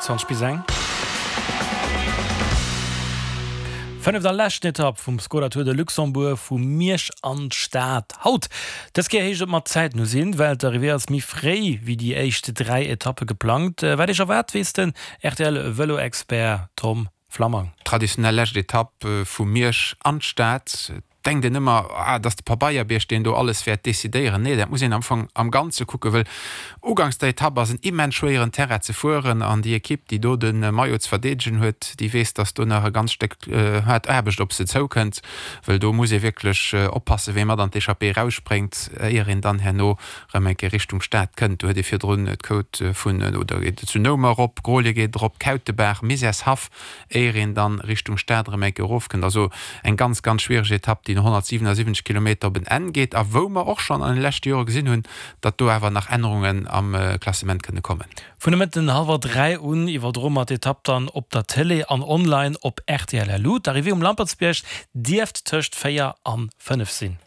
20 bis eng. Fënneft a leschten Etapp vum Skoda Tour de Luxembourg vu Miersch an d'Stad haut. Dës Kéier heescht et mat Zäit no sinn, well d'Arrivée ass méi fréi wéi déi éischt 3 Etappe geplangt. Wat Iech erwaart, weess den RTL-Vëlo-Expert Tom Flammang. Traditionell lescht Etapp vu Miersch an d'Stad. Denkt een ëmmer, ah, et ass de Pabeierbierg, deen do alles wäert decidéieren. Nee, dat muss een am Fong am Ganze kucken, wëll uganks der Etapp ass en immens schwéieren Terrain ze fueren an déi Ekipp, déi do de Maillot ze verdeedegen huet, déi weess, datt do nach e ganz Stéck haart Aarbecht op se zoukënnt, wëll do muss ee wierklech oppassen, wee mat an d'Echappée erausspréngt, éier een dann herno erëm eng Kéier Richtung Stad kënnt. Do huet ee virdrun d'Côte vun, oder geet et zu Noumer erop, Grolie geet erop, Kautebaach, Misärshaff, éier een dann Richtung Stad erëm eng Kéier erofkënnt. Also eng ganz, ganz schwiereg Etapp, déi no 177 Kilometer op en Enn geet a wou mer och schonn an de leschte Jore gesinn hunn, datt do awer nach Ännerungen am Klassement kënne kommen. Vun de Mëtten hallwer 3 un iwwerdroe mer d'Etapp dann op der Télé an online op rtl. LU. D'Arrivée um Lampertsbierg dierft tëscht 4 an 5 sinn.